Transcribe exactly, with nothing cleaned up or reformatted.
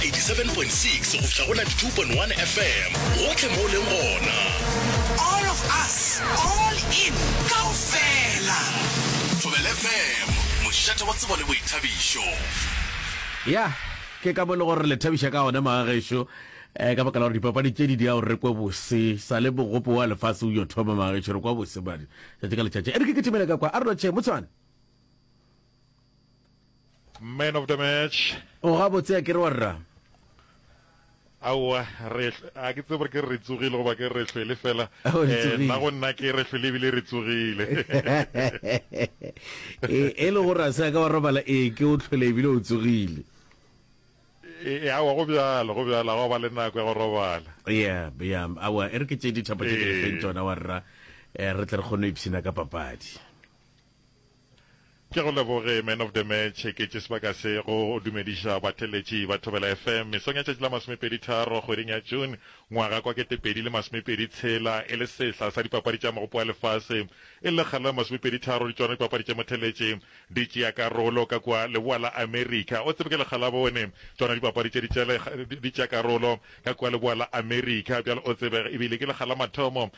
eighty-seven point six go fihla go ninety-two point one F M, gohle mo o leng gona. All of us, all in, kaofela. Thobela F M, mošate wa tsebo le boithabišo. Ya, ke ka mo e le gore re le thabiša ka gona magagešo, um ka baka la gore dipapadi tše di dia gore re kwe bose sa le mogopo wa lefase o yo thoma. Magagešo, re kwa bose badi tšatši ka letšatši. E re ke kitimele ka kwa, a re lotšhe motshwane. Man of the match. O gabotse, a ke re wa rra? Aowa, re a ke tsebe gore ke re re tsogile goba ke re re hlwele fela. Oh, le Eh, tsogile. Nna go nna ke re hlwele ebile re tsogile. E e le gore a se a ka wa robala, ee, ke o hlwele ebile o tsogile. E, aowa, go bjalo, go bjalo, ga go ba le nako ya go robala. Ya, ya, aowa, e re ke tše dithapo tše ke le feng Ee. tšona wa rra, eh, re tle re kgone go ipshina ka papadi. Ke go leboge, Man of the Match. Ke tše sebaka se go dumediša batheletši ba Thobela F M mesong ya tšatši la masomepedi tharo kgweding ya June ngwaga kwa ketepedi le masomepedi tshela, e le sehla sa dipapadi tša mogopo wa lefase, e le lekgalo la masomepedi tharo di tšona dipapadi tša motheletši di tšea karolo ka kua leboa la Amerika. O tsebe ke lekga la bone tšona dipapadi tše di tšea karolo ka kua leboa la Amerika bjalo, o tsebe ebile ke lekga la mathomo.